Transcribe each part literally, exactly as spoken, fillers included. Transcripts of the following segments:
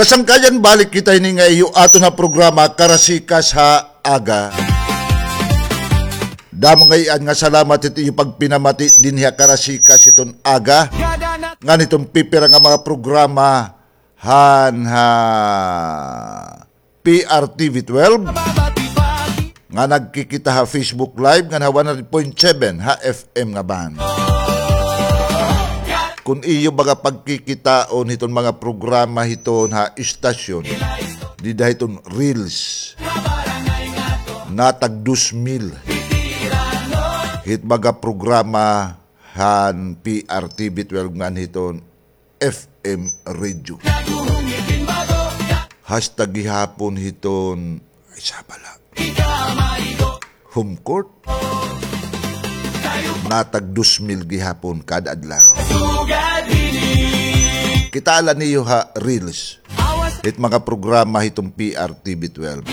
Kasangkayan, balik kita hini nga iyo aton ha programa Karasikas ha Aga. Damo ngay-an nga salamat hit iyo pagpinamati dinhi ha Karasikas hiton aga. Ngan hiton pipira nga mga programa han ha P R T V twelve, nga nagkikita ha Facebook Live, ngan ha one hundred point seven ha F M nga band. Kun iyo baga pagkikitaon hiton mga programa hiton ha istasyon, dida hiton reels, natag dos mil hit baga programa han P R T V twelve ngan hiton F M radio. Hasta gihapon hiton, ay, sabala. Home court. Natag dos mil gihapon kada adlaw. Kitaa la niyo ha reels hit mga programa hiton P R T V twelve.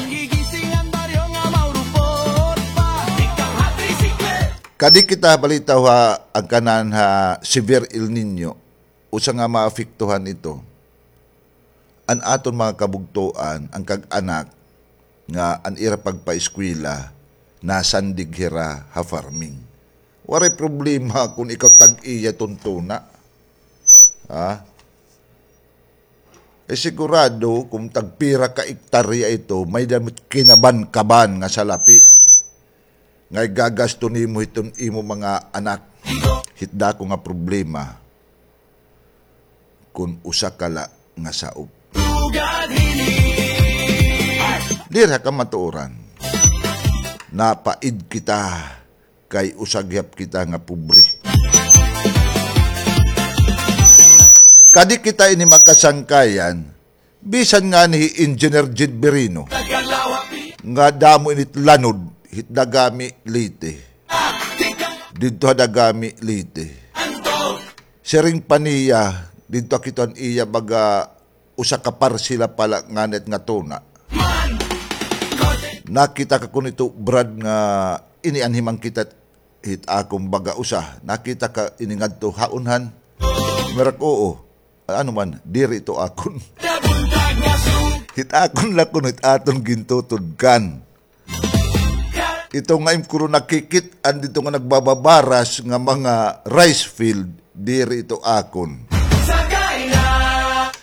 Kadi kita balitaw ha, an kanan ha severe El Niño, usa nga maapektuhan ito an aton mga kabugtoan, an kag-anak nga an ira pagpaeskwela, nasandig hira ha farming. Waray problema kun ikaw tag-iya hiton tuna. Ha? Eh, sigurado, kun tagpira ka ektarya ito, may-ada kinaban-kaban nga salapi nga igagasto nimo hiton imo mga anak. Hit dako nga problema, kun usa ka la nga saop. Diri ha kamatuoran, napaid kita kay usa gihap kita nga pobre. Kadi kita ini makasangkayan, bisan ngani hi Engineer Jed Birino, nga damo ini it lanod hit Dagami, Leyte. Didto ha Dagami, Leyte. Siring pa niya, didto ak ito an iya baga usa ka parsela pa la ngani nga tuna. Nakita ka kuno ito, Brad, nga ini an himangkit hit akon baga usa. Nakita ka ini ngadto ha unhan? Merak, oo. Ano man, diri ito akon. Hit akon la kuno, hit aton gintutudkan. Ito nga im kuno nakikit-an didto nga nagbababaras nga mga rice field, diri ito akon.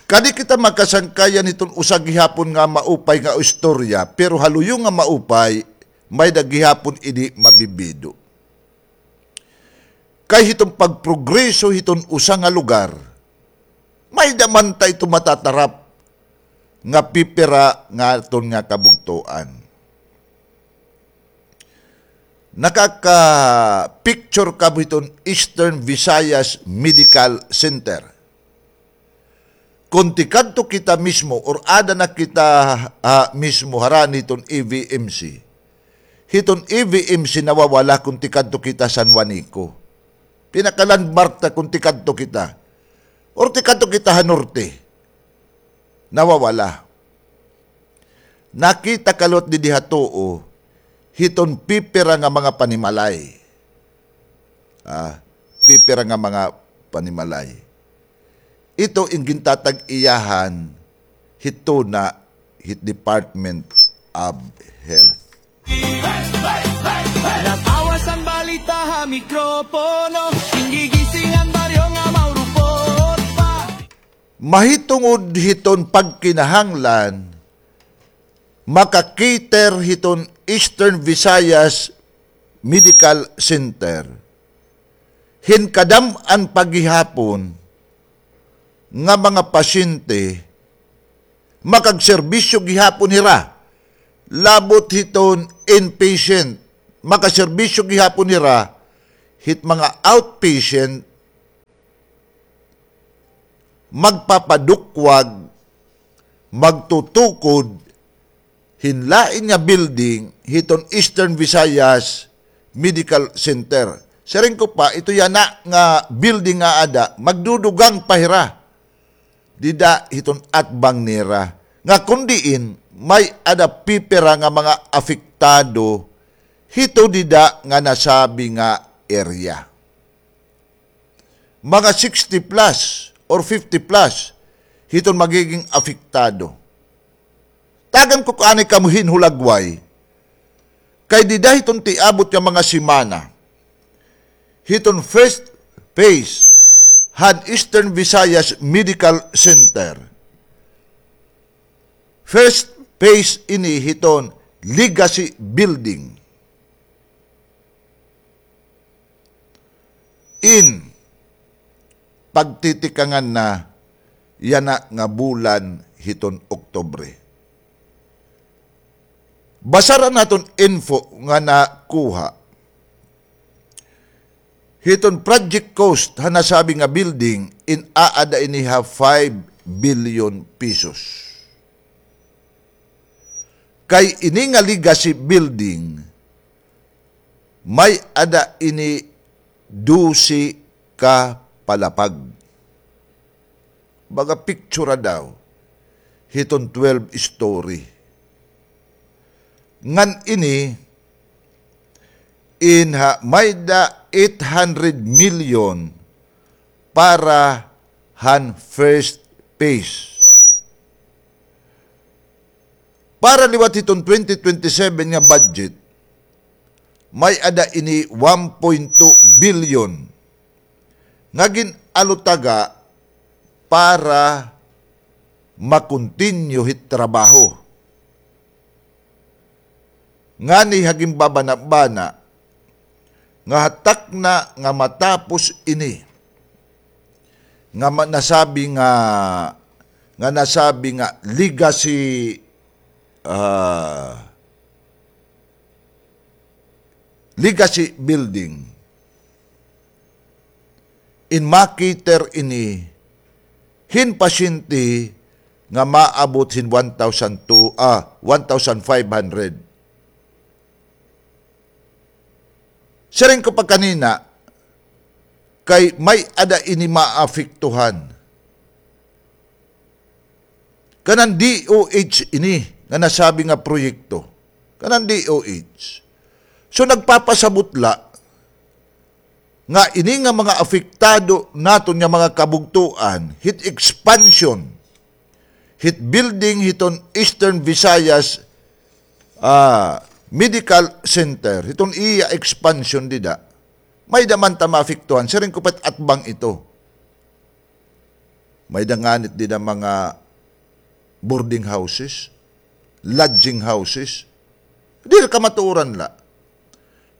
Kadi kita makasangkayan hiton usa gihapon nga maupay nga istorya, pero ha luyo nga maupay, may-ada gihapon ini mabibido. Kay hiton pagprogreso hiton usa nga lugar, may-ada man ta ito matatarap nga pipira nga aton nga kabugtoan. Nakaka-picture kamo hiton Eastern Visayas Medical Center. Kon tikadto kita mismo, or ada na kita, ah, mismo harani hiton E V M C. Hiton E V M C nawawala kon tikadto kita San Juanico. Pinaka-landmark ta kon tikadto kita. Or tikadto kita ha norte. Nawawala. Nakita ka liwat didi ha tuo, hiton pipira nga mga panimalay. Ah, pipira nga mga panimalay. Ito in gintatag-iyahan hit tuna hit Department of Health. Nag-awas an balita ha mikropono, gingigising an baryo nga maurupot pa. Mahitungod hiton pagkinahanglan, maka-cater hiton Eastern Visayas Medical Center hin kadam-an pa gihapon nga mga pasyente, makagserbisyo gihapon hira, labot hiton inpatient, makaserbisyo gihapon hira hit mga outpatient, magpapadukwag, magtutukod hin lain nga building hiton Eastern Visayas Medical Center. Siring ko pa, ito yana nga building nga ada, magdudugang pa hira dida hiton atbang nira. Nga kon diin, may-ada pipira nga mga apektado hito dida nga nasabi nga area. Mga sixty plus or fifty plus hiton magiging apektado. Tagan ko kaani kamo hin hulagway. Kay dida hiton tiabot nga mga semana, hiton first phase han Eastern Visayas Medical Center. First phase ini hiton Legacy Building. In pagtitikangan na yana nga bulan hiton Oktubre. Basara naton info nga nakuha. Hiton project cost ha nasabi nga building, in aada ini ha five billion pesos. Kay ini nga Legacy Building, may-ada ini dose ka palapag. Baga picture daw hiton twelve story. Ngan ini, in ha, may-ada eight hundred million para han first phase. Para liwat hiton twenty twenty-seven nga budget, may-ada ini one point two billion nga gin-alutaga para ma-continue hit trabaho. Ngani ha ginbabanabana nga ha takna nga matapos ini, nga ma-, nasabi nga, nga nasabi nga legacy, ah, legacy building. In ma-cater ini hin pasyente nga maabot hin one thousand two, ah, one thousand five hundred. Siring ko pa kanina, kay may-ada ini maapektuhan. Kanan D O H ini nga nasabi nga proyekto. Kanan D O H. So, nagpapasabot la nga ini nga mga apektado naton nga mga kabugtoan, hit expansion, hit building hiton Eastern Visayas, ah, Medical Center, hiton iya expansion dida, may-ada man ta maapektuhan, siring ko pa it atbang ito. May-ada ngani it dida mga boarding houses, lodging houses. Diri kamatuoran la.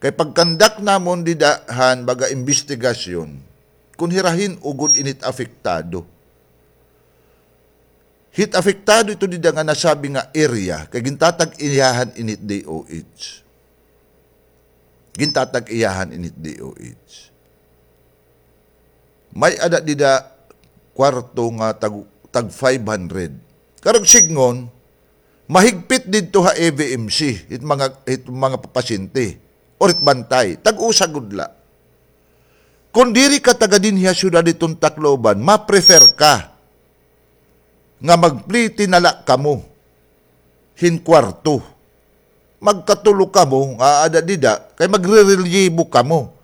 Kay pag-conduct namon dida han baga imbestigasyon, kon hira hin-o gud ini it apektado. Hit apektado ito dida nga nasabi nga area, kay gintatag-iyahan ini it D O H. Gintatag-iyahan ini it D O H. May-ada dida kwarto nga tag, tag five hundred. Karuyag sidngon, mahigpit didto ha E V M C, hit mga, hit mga papasyente, or hit bantay. Tag-usa gud la. Kon diri ka taga dinhi ha syudad hiton Tacloban, ma-prefer ka nga magpliti na la kamo hin kwarto. Magkatulo kamo nga aada dida, kay magrerelyibo kamo.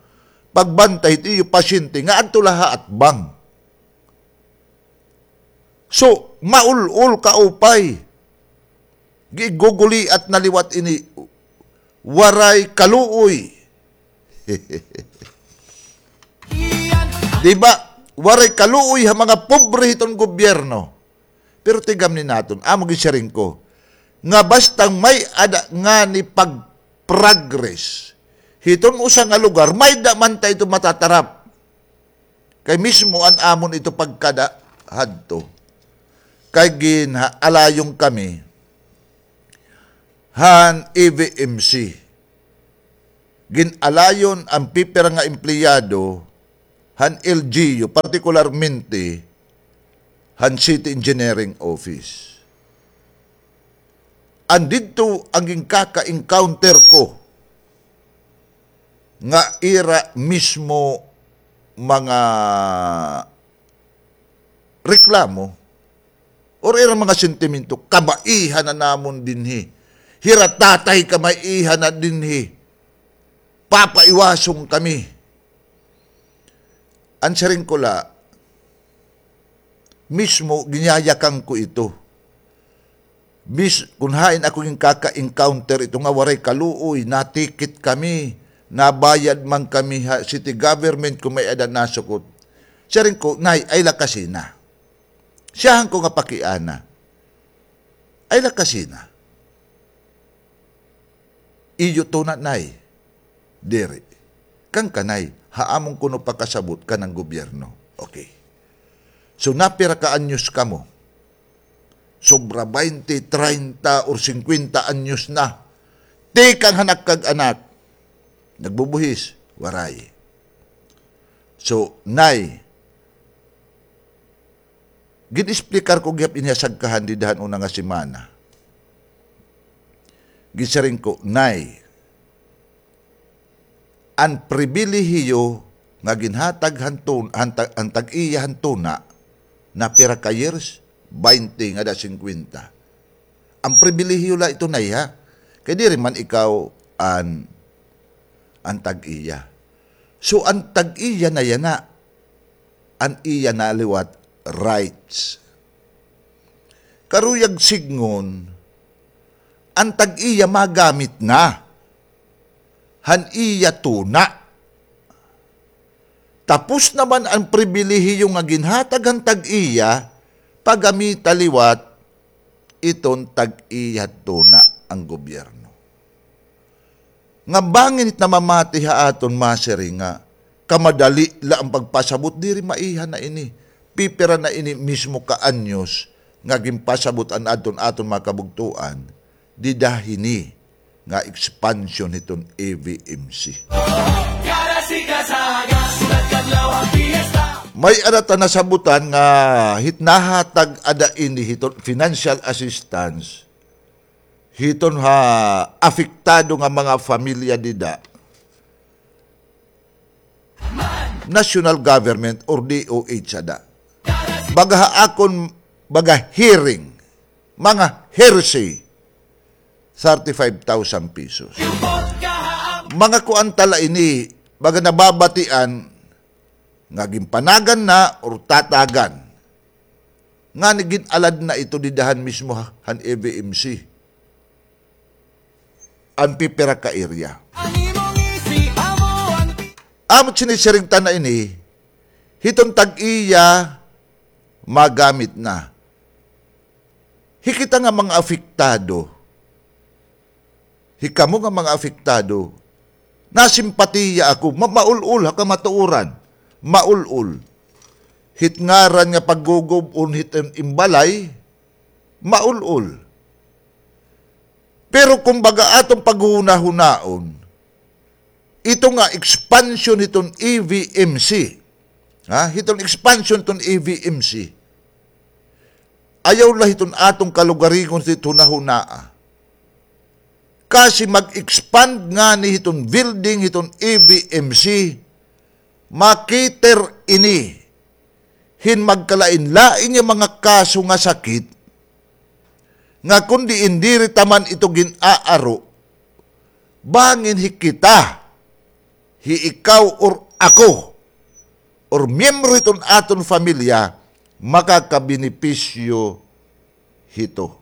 Pagbantay hit iyo pasyente nga adto la ha atbang. So, maul-ol kaupay. Giguguliat na liwat ini. Waray kaluoy. Di ba? Waray kaluoy ha mga pobre hiton gobyerno. Pero tigamni naton, amo gin siring ko, nga basta may-ada ngani pag-progress hiton usa nga lugar, may-ada man ta ito matatarap. Kay mismo an amon ito pagkada hadto. Kay gin-, ha-, alayon kami han E V M C. Gin-alayon an pipira nga empleyado han L G U, partikularmente han City Engineering Office. An didto an ginkaka-encounter ko nga ira mismo mga reklamo or ira mga sentimento, "Kabaihan na namon dinhi. Hira tatay kabaihan na dinhi. Papaiwason kami." An siring ko la, mismo, ginyayakan ko ito. Bis-, kun hain ako ginkaka-encounter ito nga waray kaluoy, natikit kami, nabayad man kami ha city government kun may-ada nasukot. Siring ko, "Nay, ay la kasi na." Siyahan ko nga pakiana. Ay la kasi na. Iyo tuna, Nay. Diri. Kan kanay, ha amon kuno pakasabot kanan gobyerno. Okay. So, napira ka anyos kamo? Sobra baynte, traynta, or singkwenta anyos na. Tikang hanak kag anak. Nagbubuhis, waray. So, Nay, gin-explicar ko gihap ini ha sagkahan dida han una nga semana. Ginsiring ko, "Nay, an pribilehiyo nga ginhatag han tun-, han ta-, han tag-iya han tuna, napira ka years, baynte ngada singkwenta. An pribilehiyo la ito, Nay, ha? Kay diri man ikaw an, an tag-iya. So, an tag-iya na yana, an iya na liwat rights. Karuyag sidngon, an tag-iya magamit na han iya tuna. Tapos naman an pribilehiyo nga ginhatag han tag-iya, pagamita liwat iton tag-iya tuna an gobyerno." Nga bangin it namamati ha aton masiring nga kamadali la an pagpasabot, diri, maiha na ini. Pipira na ini mismo ka anyos nga ginpasabot an adton aton mga kabugtoan dida hini nga expansion hiton E V M C. May-ada ta nasabutan nga hit nahatag ada ini hiton financial assistance hiton ha apektado nga mga pamilya dida, national government or D O H ada. Baga ha akon, baga hearing, mga hearsay, thirty-five thousand pesos. Mga kuan ta la ini, baga nababatian nga ginpanagan na or tatagan. Ngani gin-alad na ito dida han mismo ha-, han E V M C. An pipira ka area. Amo it sinisiring ta na ini, hiton tag-iya magamit na. Hi kita nga mga apektado, hikamo nga mga apektado, nasimpatiya ako, ma-, maul-ol ha kamatuoran, maul-ol. Hit ngaran nga paggugub-on hit im-, im balay, maul-ol. Pero kumbaga aton paghuhunahunaon, ito nga expansion hiton E V M C, ha? Hiton expansion hiton E V M C. Ayaw la hiton aton kalugaringon hit hunahunaa. Kasi mag-expand ngani hiton building hiton E V M C, ma-cater ini hin magkalain-lain nga mga kaso nga sakit, nga kon diin diri ta man ito gin-aaro, bangin hi kita, hi ikaw or ako, or miyembro hiton aton pamilya, makakabenepisyo hito.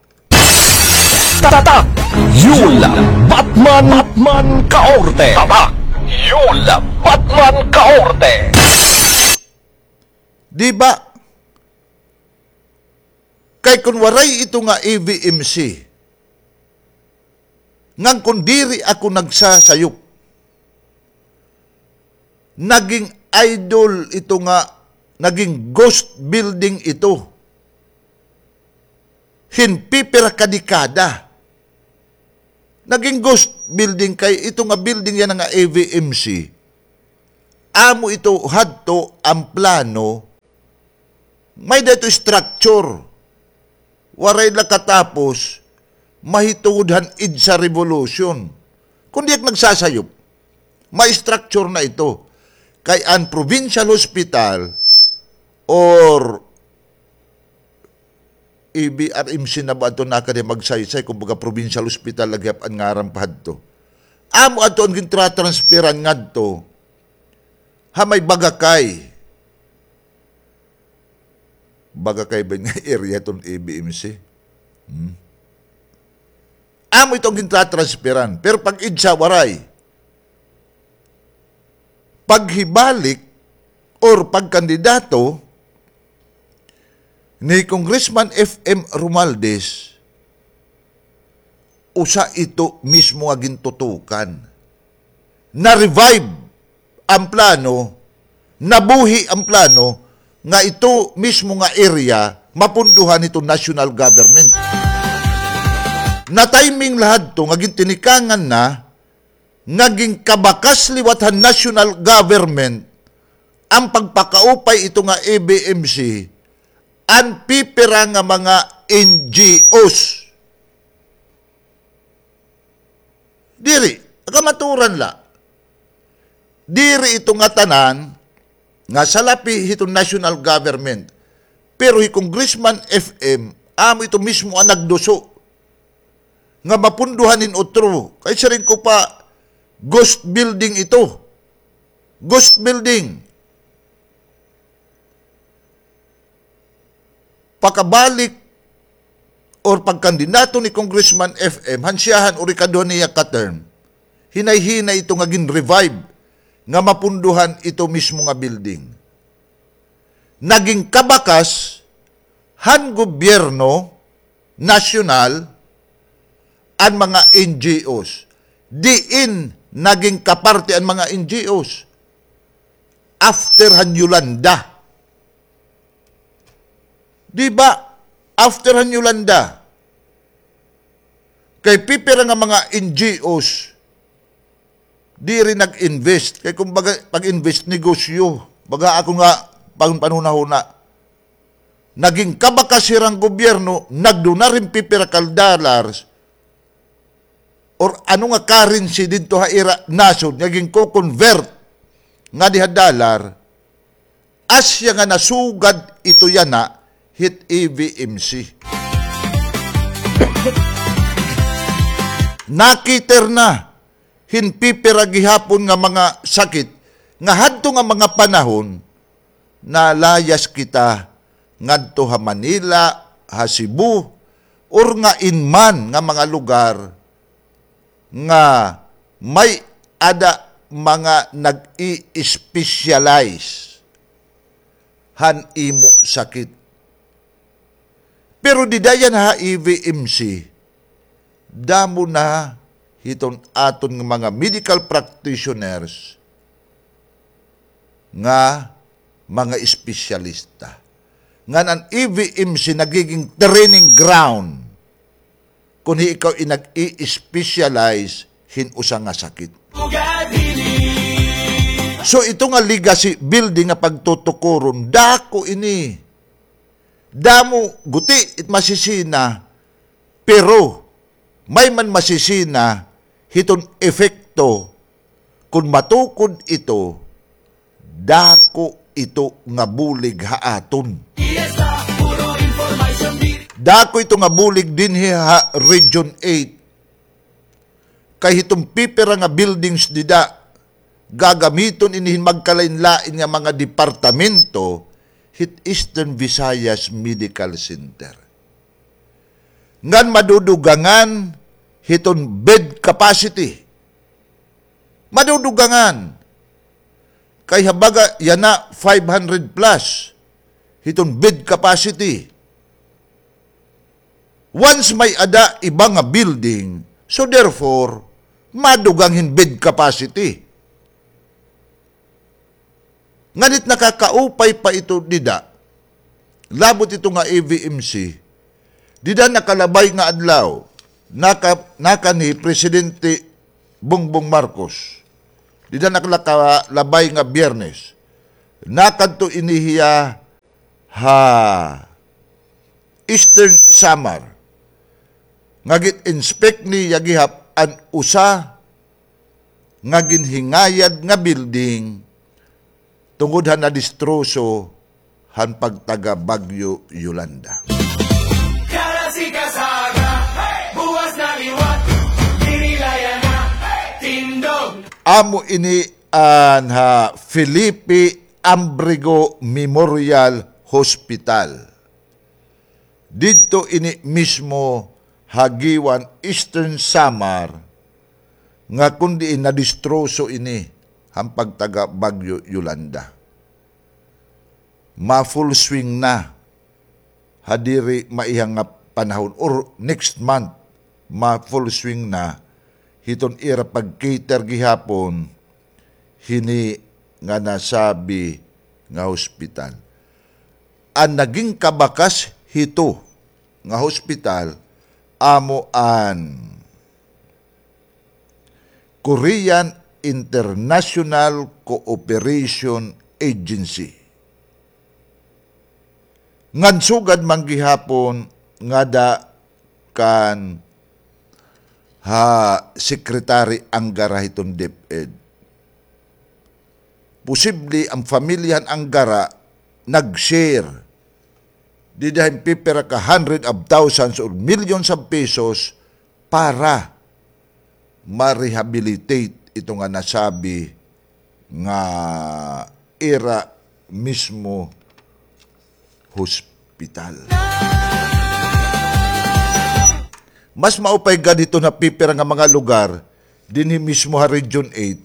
Tatak! Yul Batman, Batman Kaorte! Tatak! Yul Batman Kaorte! Di ba? Kay kun waray ito nga E V M C, ngan kun diri ako nagsasayop, naging idol ito nga, naging ghost building ito hin pipira ka dekada. Naging ghost building kay ito nga building yana nga E V M C. Amo ito hadto an plano, may-ada ito structure. Waray la katapos, mahitungod han EDSA revolution. Kun di ak nagsasayop, may structure na ito. Kay an provincial hospital or E V R M C na ba adto, nakadi magsaysay, kumbaga provincial hospital la gihap an ngaran pa hadto. Amo adto an gintratransferan ngadto ha may Bagakay. baga kay ba nga area ton A B M C. Hmm. Amo ito an gintratransferan. Pero pag-idsa waray paghibalik or pagkandidato ni Congressman F M Romualdez, usa ito mismo nga gintutukan. Na-revive an plano, nabuhi an plano nga ito mismo nga area mapundohan hito national government. Na-timing la hadto nga gintinikangan na nga ginkabakas liwat han national government an pagpakaupay ito nga A B M C an pipira nga mga N G Os. Diri, kamaturan la. Diri ito ngatanan nga salapi hiton national government. Pero hi Congressman F M, amo ito mismo an nagduso nga mapundohan hin utro. Kay siring ko pa, ghost building ito. Ghost building. Pakabalik or pagkandidato ni Congressman F M, han siyahan or ikaduha niya ka term, hinay-hinay ito nga gin-revive nga mapundohan ito mismo nga building. Naging kabakas han gobyerno nasyonal an mga N G Os. Diin naging kaparte an mga N G Os? After han Yolanda. Di ba? After han Yolanda. Kay pipira nga mga N G Os, diri nag-invest. Kay kumbaga, pag-invest, negosyo. Baga ako nga, pag panhunahuna. Naging kabakas hira han gobyerno, nagdunar hin pipira ka dollars, or ano nga currency didto ha ira nasod nga ginko-convert ngadi ha dollar, asya nga nasugad ito yana hit A V M C. Nakiter na hin pipira gihapon nga mga sakit nga hadto nga mga panahon, nalayas kita ngadto ha Manila, ha Cebu, or nga in man nga mga lugar nga may-ada mga nag-i-specialize han imo sakit. Pero dida yana ha A V M C, damo na hiton aton nga mga medical practitioners nga mga espesyalista. Ngan an A V M C nagiging training ground kon hi ikaw in nag-i-specialize hin usa nga sakit. So, ito nga legacy building nga pagtutukuron, dako ini. Damo, guti it masisina, pero may man masisina hiton epekto kon matukod ito, dako ito nga bulig ha aton. Dako ito nga bulig dinhi ha Region eight. Kay hiton pipira nga buildings dida, gagamiton ini hin magkalain-lain nga mga departamento hit Eastern Visayas Medical Center. Ngan madudugangan hiton bed capacity. Madudugangan. Kay ha baga yana five hundred plus hiton bed capacity. Once may-ada iba nga building, so therefore, madugang hin bed capacity. Ngan it nakakaupay pa ito dida, labot ito nga A V M C, dida nakalabay nga adlaw, naka-, nakan hi Presidente Bongbong Marcos, dida nakalabay nga Biyernes, nakadto ini hiya ha Eastern Samar, nga gin-inspect niya gihap an usa nga ginhingayad nga building tungod ha nadistroso han pagtaga Bagyo Yolanda. Kara si Kasaga, buwas na liwat, diri laya na, tindog. Amo ini an ha Felipe Ambrigo Memorial Hospital. Didto ini mismo ha Guiuan, Eastern Samar, nga kon diin nadistroso ini han pagtaga Bagyo Yolanda. Ma-full swing na ha diri maiha nga panahon or next month, ma-full swing na hiton ira pag-cater gihapon hini nga nasabi nga hospital. An naging kabakas hito nga hospital amo an Korean International Cooperation Agency. Ngan sugad man gihapon ngada kan ha Secretary Angara hiton DepEd. Posible an pamilya han Angara nag-share dida hin pipira ka hundred of thousands or millions of pesos para ma-rehabilitate ito nga nasabi nga ira mismo hospital. Mas maupay gad hiton ha pipira nga mga lugar dinhi mismo ha Region eight,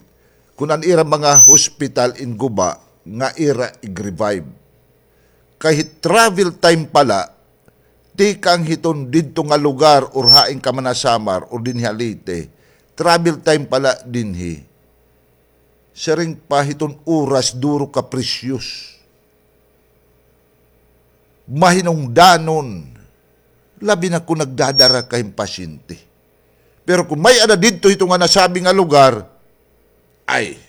kun an ira mga hospital in guba nga ira ig-revive. Kay travel time pa la, tikang hiton didto nga lugar or hain ka man ha Samar or dinhi ha Leyte, travel time pa la dinhi. Siring pa hiton oras duro ka precious. Mahinungdanon, labi na kon nagdadara ka hin pasyente. Pero kon may-ada didto hito nga nasabi nga lugar, ay,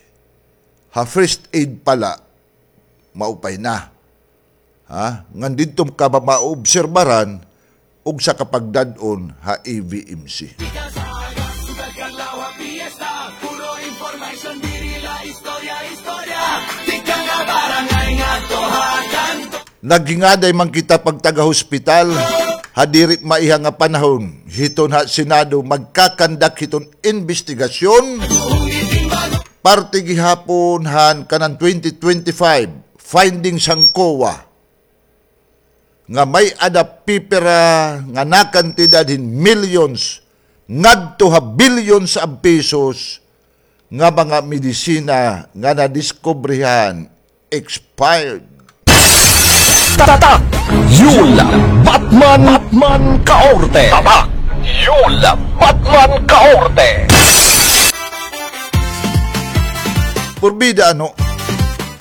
ha first aid pa la, maupay na. Ha? Ngan didto ka ba maobserbaran og sa kapagdad-on ha A V M C. Naghingaday man kita pagtaga-hospital, ha diri maiha nga panahon, hiton ha Senado magkakandak hiton imbestigasyon, parte gihapon han kanan twenty twenty-five findings han COA. Nga may-ada pipira nga nakantidad hin millions ngadto ha billions of pesos nga mga medisina nga nadiskubrehan expired. Tatak Yul Batman, Batman Kaorte. Tatak Yul Batman Kaorte. Purbida, ano,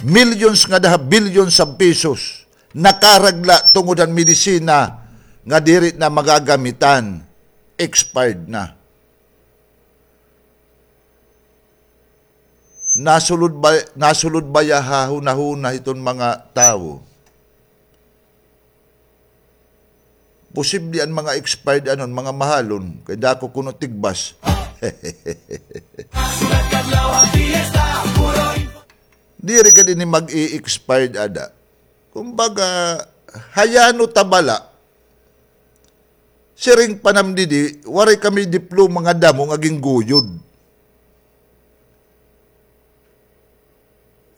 millions ngada ha billions of pesos nakarag la tungod han medisina nga diri na magagamitan, expired na. Nasulod ba, nasulod baya ha hunahuna hiton mga tawo? Posible an mga expired anon, mga mahalon, kay dako kuno tigbas. Diri gad ini mag-i-expired ada. Kumbaga, hayano ta bala. Siring pa nam didi, waray kami diploma nga damo nga ginguyod.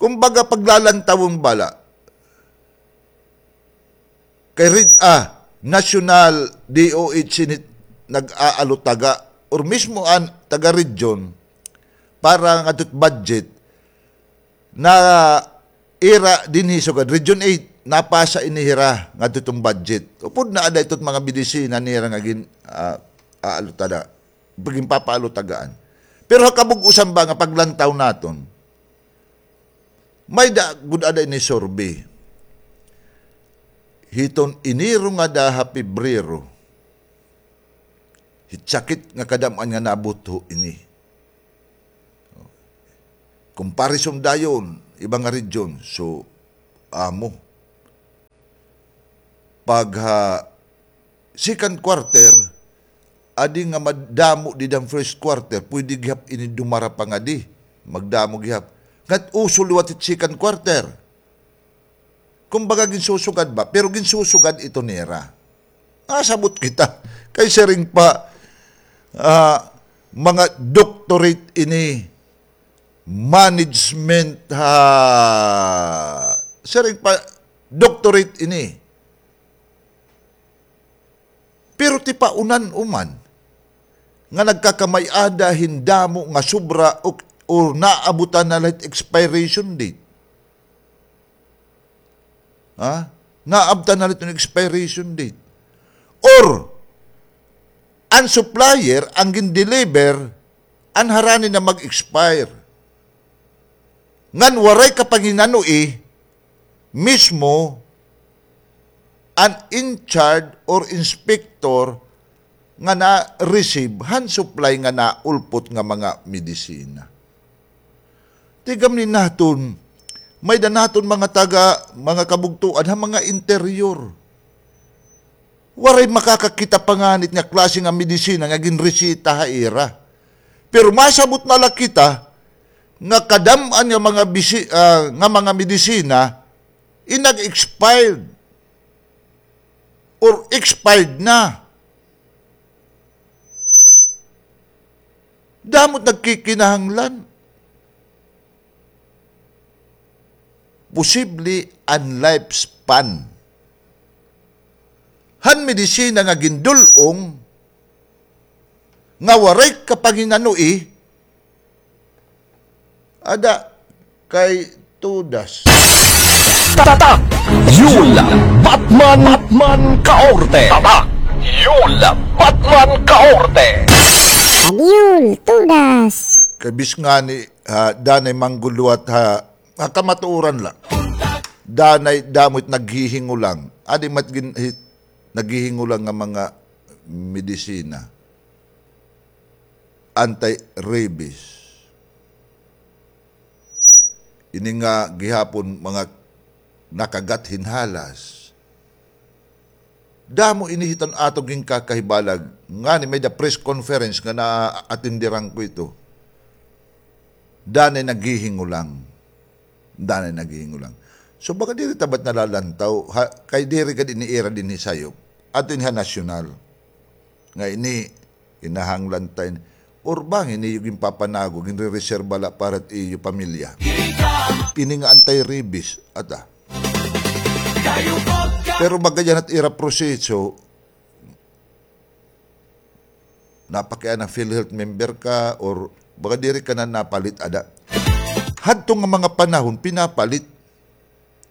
Kumbaga, paglalantawon bala. Kay ri-, ah, national D O H ini nag-aalutaga, or mismo an taga-region, para ngadto hit budget, na ira dinhi sugad Region eight, napasa ini hira ngadto hiton budget. Upod na ada iton mga medisina nira nga gin-, ah, aalutada, ginpapaalutagaan. Pero ha kabug-osan ba nga paglantaw naton, may-ada gud ada ini survey. Hiton Enero ngada ha Pebrero, hit sakit nga kadam-an nga nabutho ini. Comparison dayon, iba nga region. So, amo. Pag ha second quarter, adi nga madamo dida han first quarter, pwede gihap ini dumara pa ngadi. Magdamo gihap. Ngat uso liwat hit second quarter. Kumbaga, ginsusugad ba? Pero ginsusugad ito nira. Nasabot kita. Kay siring pa, ah, mga doctorate ini, management, ha, siring pa, doctorate ini. tipaunan uman nga nagkakamay-ada hin damo nga sobra o, o naabutan na la hit expiration date. Ha? Naabtan na la hit expiration date. Or, an supplier, an gin-deliver, an harani na mag-expire. Ngan waray kapanginanoi mismo an in-charge or inspector nga na-receive han supply nga naulpot nga mga medisina. Tigam ni naton, may-ada naton mga taga, mga kabugtoan ha mga interior. Waray makakakita pa ngani hit nga klase nga medisina nga ginreseta ha ira. Pero masabot na la kita nga kadam-an nga mga bisi-, ah, nga mga medisina, inag-expired or expired na. Damo it nagkikinahanglan. Posible an lifespan han medisina nga gindul-ong nga waray kapanginanoi, ada kay Tudas. Tatak! Yul Batman, Batman Kaorte! Tatak! Yul Batman Kaorte! Tatak Yul, Tudas! Kay bis ngani, ha, danay mangguluwat ha, ha kamatuoran la. Danay damo it naghihingulang. Adi mat gin-, hi-, naghihingulang nga mga medisina. Anti-rabies. Ini nga gihapon mga nakagat hin halas. Damo ini hit an aton ginkakahibalag. Ngani may-ada press conference nga naatindiran ko ito. Danay naghihingulang. Danay naghihingulang. So, baga diri ta ba it nalalantaw, ha, kay diri gad ini ira dinhi sayop. Ato ini ha nasyonal. Nga ini, kinahanglan ta ini. Or bangin ini iyo ginpapanago, ginrereserba la para it iyo pamilya. Ini nga anti-rabies, ada. Pero baga dyan it ira proseso, napakiana PhilHealth member ka, or baga diri ka na napalit, ada. Hadto nga mga panahon, pinapalit.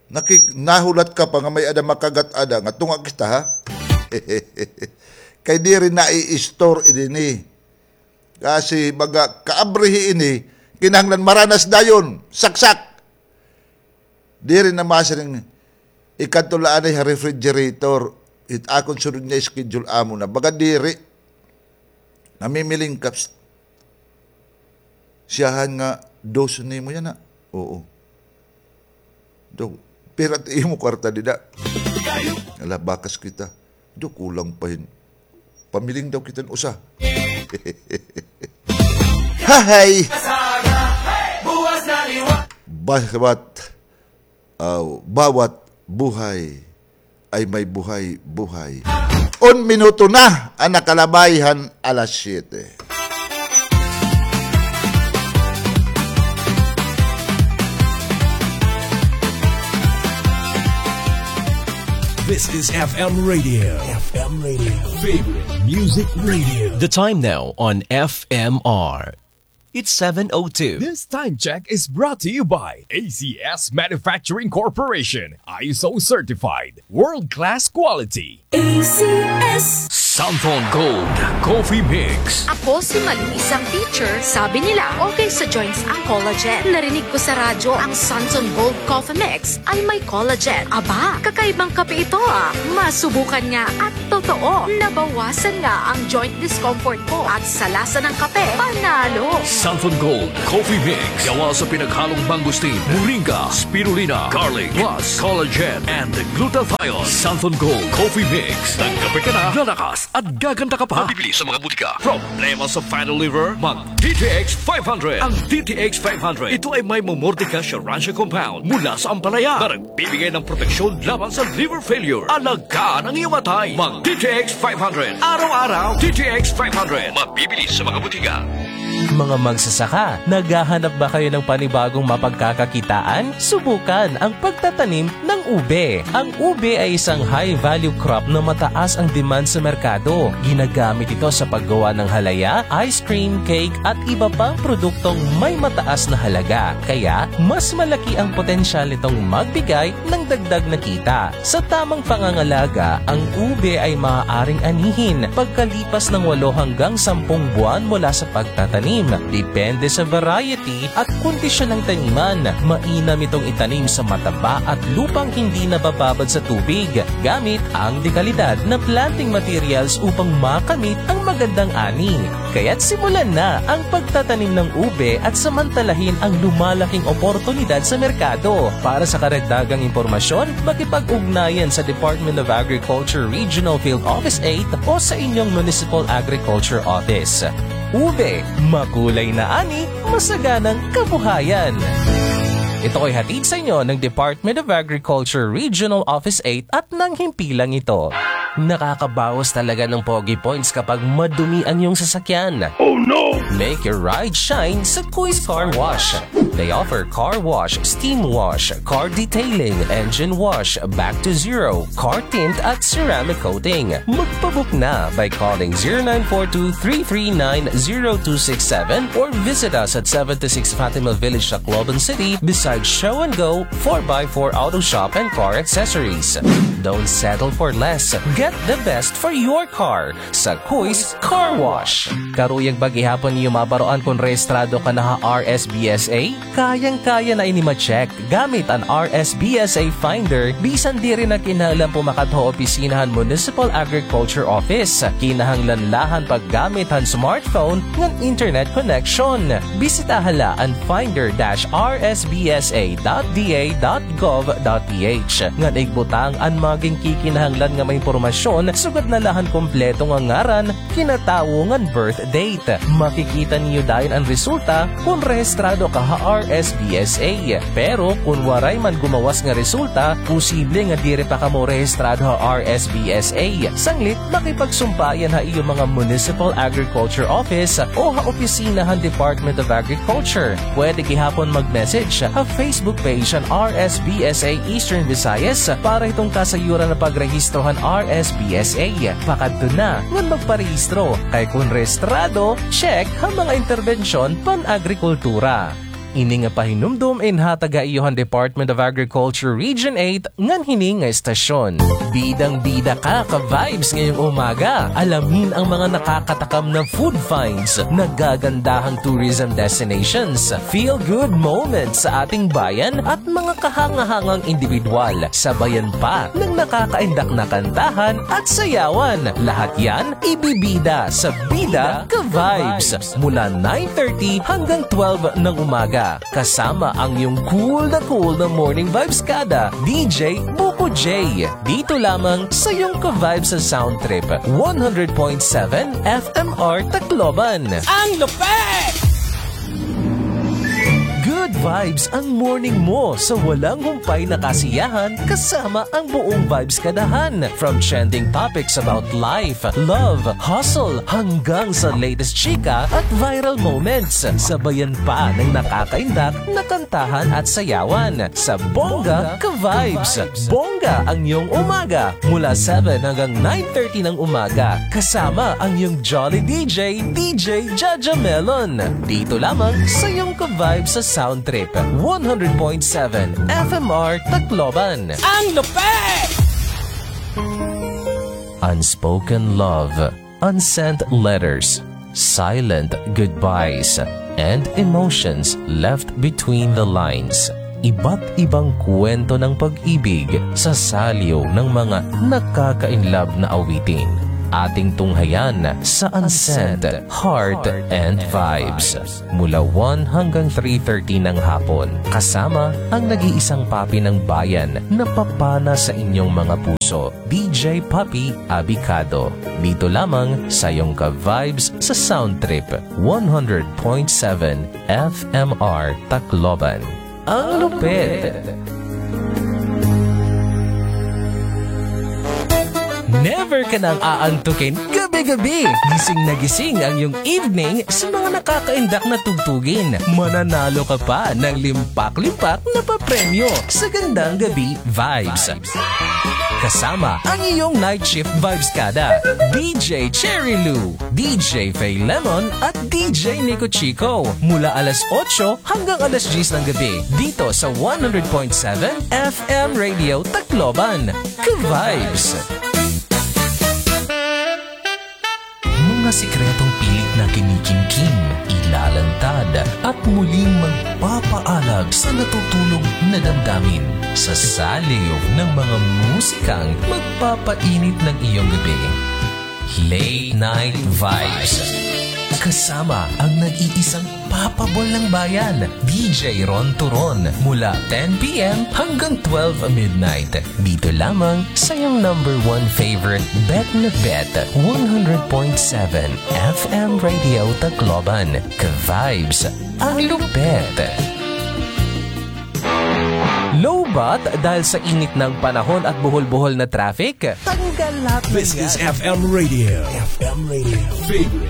Nakik-, nahulat ka pa nga may-ada makagat ada, nga tunga kita, ha? Kay diri na i-store ini. Kasi baga kaabrihi ini, kinahanglan maranas dayon, saksak. Diri na masiring, ikadto la anay ha refrigerator, it akon sunod nga schedule amo na. Baga diri, namimiling ka, psst. Siyahan nga, dos nimo yana. Oo. Do, pira it imo kwarta dida? Ala, bakas kita. Do, kulang pa hin. Pamiling daw kita hin usa. Hahay! Bawat, aw, bawat buhay ay may buhay-buhay. Un minuto na an nakalabay han alas siyete. This is F M Radio. F M Radio. Favorite Music Radio. The time now on F M R. It's seven oh two. This time check is brought to you by A C S Manufacturing Corporation, I S O certified, world-class quality. A C S. Santhon Gold Coffee Mix. Ako si Malu, isang teacher. Sabi nila, okay sa joints ang collagen. Narinig ko sa radyo ang Santhon Gold Coffee Mix ay may collagen. Aba, kakaibang kape ito, ah. Masubukan nga at totoo, nabawasan nga ang joint discomfort ko at sa lasa ng kape, panalo. Santhon Gold Coffee Mix, gawa sa pinaghalong mangosteen, moringa, spirulina, garlic, plus collagen and glutathione. Santhon Gold Coffee Mix. Nagkape ka na, lalakas at gaganda ka pa. Mabibili sa mga butika. Problema sa fatty liver? Mag D T X five hundred. Ang D T X five hundred, ito ay may Momordica Schirransia compound mula sa ampalaya na nagbibigay ng proteksyon laban sa liver failure. Alagaan ang iyong atay. Mag D T X five hundred. Araw-araw, D T X five hundred. Mabibili sa mga butika. Mga magsasaka, naghahanap ba kayo ng panibagong mapagkakakitaan? Subukan ang pagtatanim ng ube. Ang ube ay isang high-value crop na mataas ang demand sa merkado. Ginagamit ito sa paggawa ng halaya, ice cream, cake, at iba pang produktong may mataas na halaga. Kaya, mas malaki ang potensyal nitong magbigay ng dagdag na kita. Sa tamang pangangalaga, ang ube ay maaaring anihin pagkalipas ng walo hanggang sampung buwan mula sa pagtatanim. Depende sa variety at kondisyon ng taniman. Mainam itong itanim sa mataba at lupang hindi nabababad sa tubig gamit ang dekalidad na planting materials upang makamit ang magandang ani. Kaya't simulan na ang pagtatanim ng ube at samantalahin ang lumalaking oportunidad sa merkado. Para sa karagdagang impormasyon, makipag-ugnayan sa Department of Agriculture Regional Field Office eight o sa inyong Municipal Agriculture Office. Ube, makulay na ani, masaganang kabuhayan. Ito ay hatid sa inyo ng Department of Agriculture Regional Office eight at ng himpilang ito. Nakakabawas talaga ng pogi points kapag madumi ang iyong sasakyan. Oh no! Make your ride shine sa Kuis Car Wash. They offer car wash, steam wash, car detailing, engine wash, back to zero, car tint at ceramic coating. Magpabook na by calling zero nine four two three three nine zero two six seven or visit us at seventy-six Fatima Village, Tacloban City, beside Show and Go, four by four Auto Shop and Car Accessories. Don't settle for less. Get the best for your car sa Kuis Car Wash. Karuyag ba gihapon niyo mabaroan kon rehistrado ka na ha R S B S A? Kayang-kaya na ini ma-check gamit an R S B S A Finder, bisan diri na kinahanglan pumakat ha opisina han Municipal Agriculture Office. Kinahanglan la han paggamit han smartphone ngan internet connection. Bisitaha la an finder dash r s b s a dot d a dot gov dot p h ngan igbutang an mga ginkikinahanglan nga mga impormasyon, sugad na la han kompleto nga ngaran, kinatawo ngan birth date. Makikita niyo dayon an resulta kon rehistrado ka ha R S B S A. Pero kon waray man gumawas nga resulta, posible nga diri pa kamo rehistrado ha R S B S A. Sanglit, makipagsumpayan ha iyo mga Municipal Agriculture Office o ha opisina han Department of Agriculture. Pwede gihapon mag-message ha Facebook page han R S B S A Eastern Visayas para hiton kasayuran nga pagrehistro han R S B S A. Pakadto na ngan magparehistro, kay kon rehistrado, check ha mga interbensyon pan-agrikultura. Ini nga pahinumdom inhatag ha iyo han Department of Agriculture Region eight ngan hini nga estasyon. Bidang-bida ka, ka-vibes, ngayong umaga. Alamin ang mga nakakatakam na food finds, nagagandahang tourism destinations, feel-good moments sa ating bayan at mga kahanga-hangang indibidwal. Sabayan pa ng nakakaindak na kantahan at sayawan. Lahat yan ibibida sa Bida Ka-Vibes mula nine thirty hanggang twelve ng umaga. Kasama ang iyong cool na cool na morning vibes kada, D J Buko J. Dito lamang sa iyong ka-vibes sa Sound Trip, one hundred point seven F M R Tacloban. Ang lupit! Good vibes ang morning mo sa walang humpay na kasiyahan kasama ang buong Vibes Kadahan. From trending topics about life, love, hustle, hanggang sa latest chika at viral moments. Sabayan pa ng nakakaindak na kantahan at sayawan sa Bongga Ka-Vibes. Bongga ang iyong umaga mula seven hanggang nine thirty ng umaga. Kasama ang iyong Jolly D J, D J Jaja Melon. Dito lamang sa iyong ka-vibes sa Sound Trip, one hundred point seven F M R Tacloban. Ang lupit! Unspoken love, unsent letters, silent goodbyes, and emotions left between the lines. Iba't ibang kwento ng pag-ibig sa saliw ng mga nakaka-inlove na awitin. Ating tunghayan sa Unsent Heart and Vibes. Mula one hanggang three thirty ng hapon, kasama ang nag-iisang papi ng bayan na papana sa inyong mga puso, D J Papi Abicado. Dito lamang sa iyong ka-vibes sa Sound Trip, one hundred point seven F M R Tacloban. Ang lupit! Never ka nang aantukin, gabi Gabi, gising na gising ang iyong evening sa mga nakakaindak na tugtugin. Mananalo ka pa ng limpak-limpak na papremyo sa Gandang Gabi Vibes. Kasama ang iyong night shift vibes kada, D J Cherry Lou, D J Faye Lemon at D J Nico Chico. Mula alas otso hanggang alas diyes ng gabi dito sa one hundred point seven F M Radio Tacloban. Ka-vibes! Mga sikretong pilit na kinikimkim, ilalantad, at muling magpapaalag sa natutulog na damdamin. Sa saliw ng mga musikang magpapainit ng iyong gabi. Late Night Vibes. Kasama ang nag-iisang Papabol ng Bayan, D J Ron Turon, mula ten P M hanggang twelve midnight. Dito lamang sa iyong number one favorite, bet na bet, one hundred point seven F M Radio Tacloban. Ka-vibes, ang lupet. Lowbat dahil sa init ng panahon at buhol-buhol na traffic? Tanggal lahat ng This is yan. F M Radio. F M Radio. Favorite.